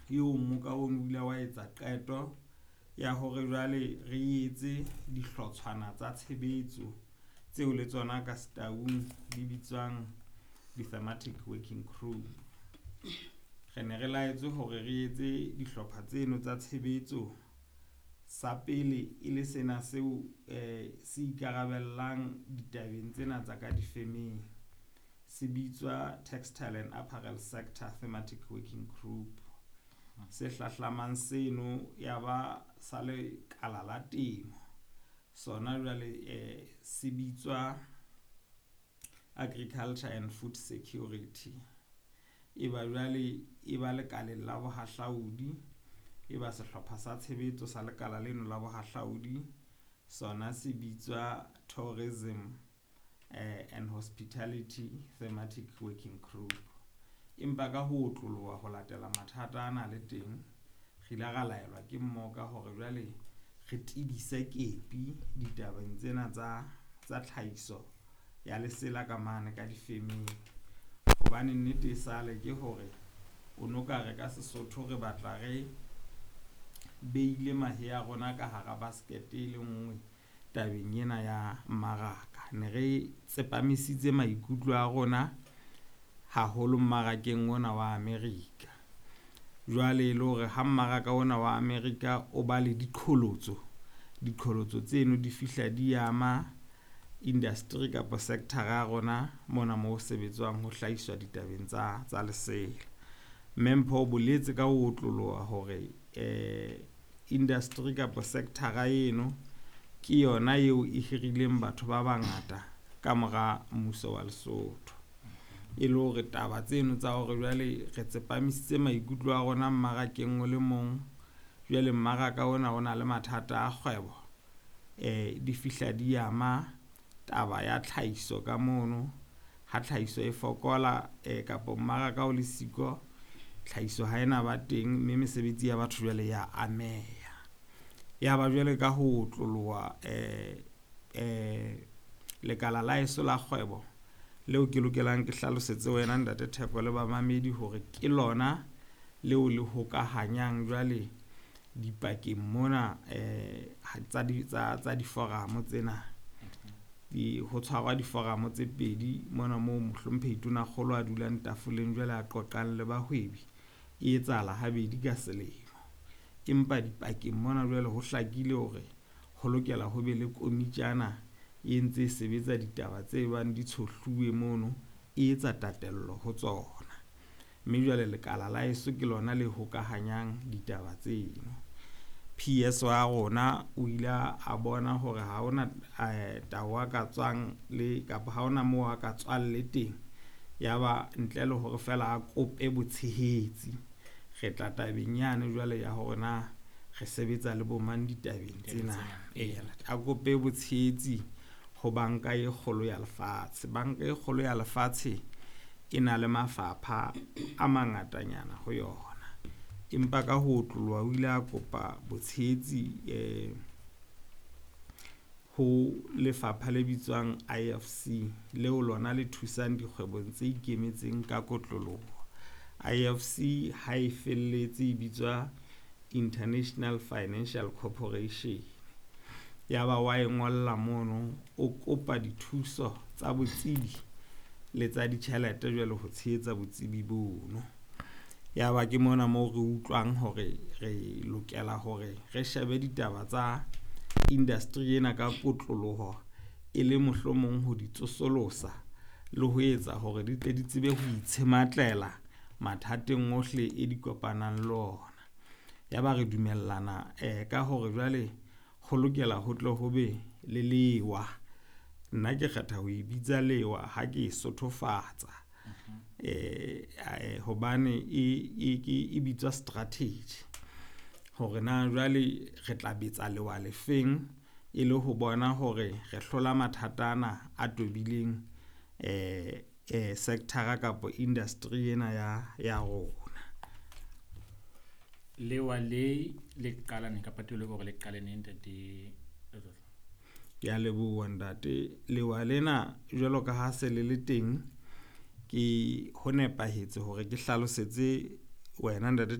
Eo mmoka ono o ile wa etsa qeto ya hore jwale re etse dihlotshwana tsa tshebetso tseo le tsona ka Setaung di bitswang di-thematic working group. Re ne re laetswe hore re etse dihlopha tseno tsa tshebetso. Sa pele e le sena seo se ikarabellang ditabeng tsena tsa ka difemeng, se bitswa Textile and Apparel Sector Thematic Working Group. Se hlahlamang seno ya ba sa lekala la temo, sona jwale se bitswa Agriculture and Food Security. E ba jwale e ba lekaleng la bohahlaudi, e ba sehlopha sa tshebetso sa lekala leno la bohahlaudi, sona se bitswa Tourism and Hospitality Thematic Working Group. Empa ka ho otloloha ho latela mathata ana le teng, re ile ra laelwa ke mmoka hore jwale re tebise kepi ditabeng tsena tsa tlhahiso ya lesela ka mane ka difemeng. Hobane nnete e sale ke hore o no ka re ka Sesotho re batla re beile mahe a rona ka hara basket e le nngwe tabeng ena ya mmaraka. Ne re tsepamisitse maikutlo a rona haholo mmarakeng ona wa America. Jwale e le hore ha mmaraka ona wa America o ba le diqholotso, diqholotso tseno di fihla di ama industry kapa sector ya rona mona mo ho sebetswang ho hlahiswa ditabeng tsa lesela. Mme Mpho o boletse ka ho otloloha hore industry kapa sector eno ke yona eo e hirileng batho ba bangata ka mora mmuso wa Lesotho. E le hore taba tseno tsa hore jwale re tsepamisitse maikutlo a rona mmarakeng o le mong, jwale mmaraka ona o na le mathata a kgwebo, di fihla di ama taba ya tlhahiso ka mono. Ha tlhahiso e fokola kapa mmaraka o le siko, tlhahiso ha ena ba teng, mme mesebetsi ya batho jwale ya ameha. Ya ba jwale ka ho otloloha lekala la heso la kgwebo leo ke lokelang ke hlalosetse wena ntate Theko le bamamedi hore ke lona leo le hokahanyang jwale dipakeng mona tsa diforamo tsena. Ho tshwarwa diforamo tse pedi mona moo mohlomphehi Tonakgolo a dulang tafoleng jwale a qoqang le bahwebi, e etsahala habedi ka selemo. Empa dipakeng mona jwale ho hlakile hore ho lokela ho be le komitjana e ntse e sebetsa ditaba tse bang di tshohluwe mono, e etsa tatello ho tsona. Mme jwale lekala la heso ke lona le hokahanyang ditaba tseno. PS wa rona o ile a bona hore ha hona tao a ka tswang le kapa ha hona moo a ka tswang le teng, ya ba ntle le hore fela a kope botshehetsi. Re tla tabeng yane jwale ya hore na re sebetsa le bo mang ditabeng tsena. A kope botshehetsi ho banka e kgolo ya lefatshe. Banka e kgolo ya lefatshe e na le mafapha a mangatanyana ho yona, empa ka ho otloloha o ile a kopa botshehetsi ho lefapha le bitswang IFC, leo lona le thusang dikgwebong tse ikemetseng ka kotloloho. IFC ha e felletse e bitswa International Financial Corporation. Ya ba wa e ngolla mono, o kopa dithuso tsa botsebi le tsa ditjhelete jwale ho tshehetsa botsebi bono. Ya ba ke mona moo re utlwang hore re lokela hore re shebe ditaba tsa industry ena ka kotloloho, e le mohlomong ho di tsosolosa le ho etsa hore di tle di tsebe ho itshematlela mathateng ohle e di kopanang le ona. Ya ba re dumellana ka hore jwale ho lokela ho tle ho be le lewa. Nna ke kgetha ho e bitsa lewa ha ke e sothofatsa, hobane e bitswa strategy. Hore na jwale re tla betsa lewa lefeng e le ho bona hore re hlola mathata ana a tobileng sector kapa industry ena ya rona. Lewa le le qala neng kapa tulo hore le qale neng ntate Letlotlo? Ke a leboha ntate. Lewa lena jwalo ka ha se le le teng, ke ho nepahetse hore ke hlalosetse wena ntate